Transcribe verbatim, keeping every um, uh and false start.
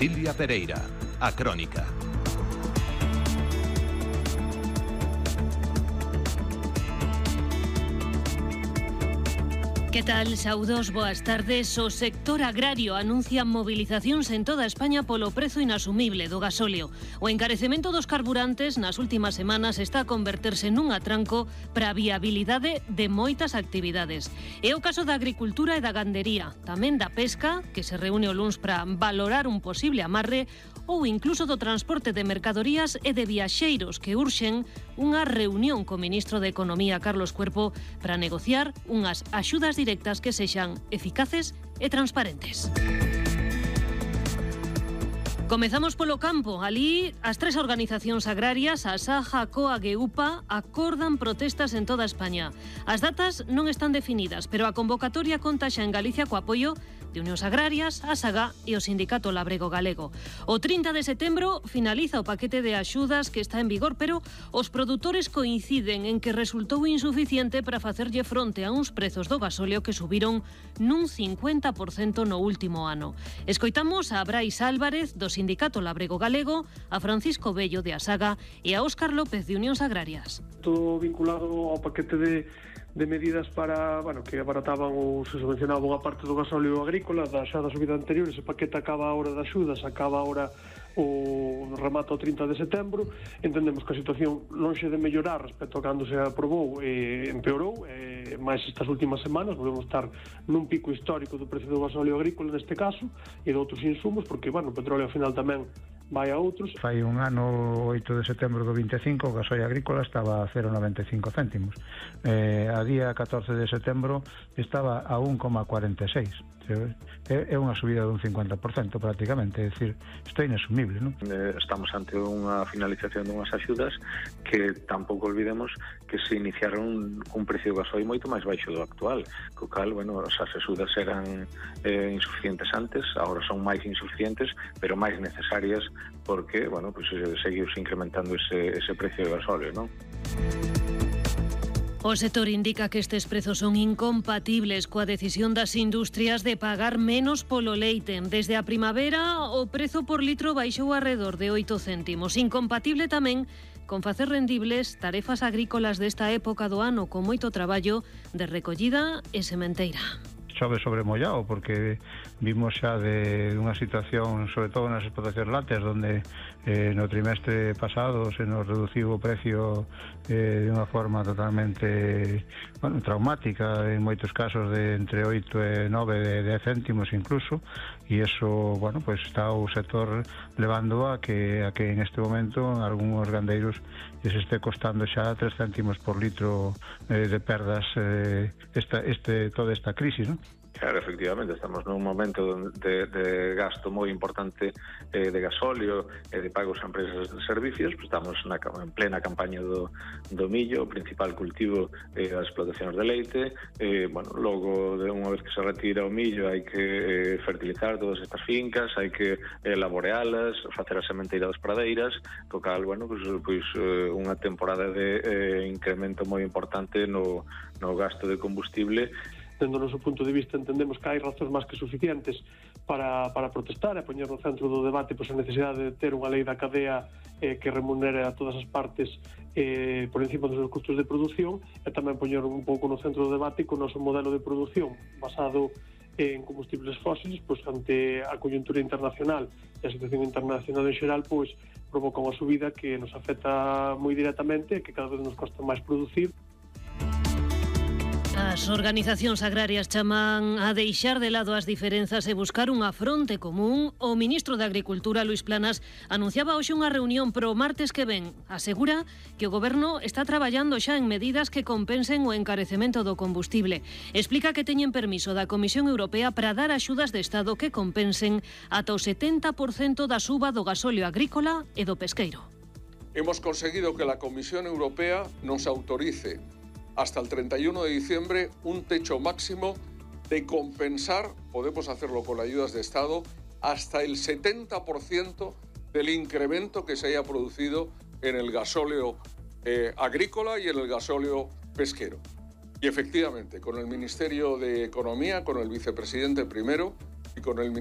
Silvia Pereira, A Crónica. Que tal, saudos, boas tardes. O sector agrario anuncia movilizacións en toda España polo prezo inasumible do gasóleo. O encarecemento dos carburantes nas últimas semanas está a converterse nun atranco para a viabilidade de moitas actividades. É o caso da agricultura e da gandería, tamén da pesca, que se reúne o luns para valorar un posible amarre, ou incluso do transporte de mercadorías e de viaxeiros que urxen unha reunión co ministro de Economía, Carlos Cuerpo, para negociar unhas axudas directas que sexan eficaces e transparentes. Comezamos polo campo. Alí, as tres organizacións agrarias, a Saja, a COAG e UPA, acordan protestas en toda España. As datas non están definidas, pero a convocatoria conta xa en Galicia co apoio de Unións Agrarias, a SAGA e o Sindicato Labrego Galego. O trinta de setembro finaliza o paquete de axudas que está en vigor, pero os produtores coinciden en que resultou insuficiente para facerlle fronte a uns prezos do gasóleo que subiron nun cincuenta por cento no último ano. Escoitamos a Brais Álvarez, do Sindicato Labrego Galego, a Francisco Bello, de a SAGA, e a Óscar López, de Unións Agrarias. Todo vinculado ao paquete de de medidas para, bueno, que abarataban ou se subvencionaban a parte do gasóleo agrícola da xa da subida anterior. Ese paquete acaba a hora das axudas, acaba ahora o remate o trinta de setembro. Entendemos que a situación lonxe de mellorar respecto a cando se aprobou, eh, empeorou, eh, máis estas últimas semanas volvemos estar nun pico histórico do precio do gasóleo agrícola neste caso e de outros insumos, porque, bueno, o petróleo ao final tamén vai a outros. Fai un ano, oito de setembro do vinte e cinco, o gasóleo agrícola estaba a cero coma noventa e cinco céntimos. Eh, a día catorce de setembro estaba a un coma cuarenta e seis. É unha subida dun cincuenta por cento prácticamente, é dicir, isto é inasumible, non? Estamos ante unha finalización dunhas axudas que tampouco olvidemos que se iniciaron cun precio do gasoil moito máis baixo do actual, co cal, bueno, as axudas eran eh, insuficientes antes, agora son máis insuficientes, pero máis necesarias porque, bueno, pues seguiuse incrementando ese, ese precio do gasóleo, non? O sector indica que estes prezos son incompatibles coa decisión das industrias de pagar menos polo leite. Desde a primavera, o prezo por litro baixou arredor de oito céntimos. Incompatible tamén con facer rendibles tarefas agrícolas desta época do ano con moito traballo de recollida e sementeira. Chove sobre mollado, porque vimos xa de unha situación, sobre todo nas explotacións lácteas, donde eh, no trimestre pasado se nos reduciu o precio eh, de unha forma totalmente, bueno, traumática, en moitos casos de entre oito e nove de dez céntimos incluso, e eso, bueno, pues está o sector levando a que a que en este momento algúns gandeiros lles este costando xa tres céntimos por litro eh, de perdas eh, esta, este, toda esta crisis, non? Claro, efectivamente, estamos nun momento de, de gasto moi importante eh, de gasóleo e eh, de pagos a empresas de servicios. Pues estamos na, en plena campaña do, do millo, o principal cultivo eh, das explotacións de leite. Eh, bueno, logo, de unha vez que se retira o millo, hai que eh, fertilizar todas estas fincas, hai que eh, laborealas, facer as sementeiras das pradeiras, co cal, bueno, pues, pues, eh, unha temporada de eh, incremento moi importante no, no gasto de combustible. Dendo o noso punto de vista, entendemos que hai razóns máis que suficientes para, para protestar e poñer no centro do debate pois, a necesidade de ter unha lei da cadea eh, que remunere a todas as partes eh, por encima dos seus custos de produción, e tamén poñer un pouco no centro do debate con o noso modelo de produción basado en combustibles fósiles, pois ante a coyuntura internacional e a situación internacional en xeral, pois provoca unha subida que nos afecta moi directamente e que cada vez nos costa máis producir. As organizacións agrarias chaman a deixar de lado as diferenzas e buscar unha fronte común. O ministro de Agricultura, Luís Planas, anunciaba hoxe unha reunión pro martes que ven. Asegura que o goberno está traballando xa en medidas que compensen o encarecemento do combustible. Explica que teñen permiso da Comisión Europea para dar axudas de Estado que compensen ata o setenta por cento da suba do gasóleo agrícola e do pesqueiro. Hemos conseguido que la Comisión Europea nos autorice hasta el treinta y uno de diciembre un techo máximo de compensar, podemos hacerlo con ayudas de Estado, hasta el setenta por ciento del incremento que se haya producido en el gasóleo eh, agrícola y en el gasóleo pesquero. Y efectivamente, con el Ministerio de Economía, con el vicepresidente primero y con el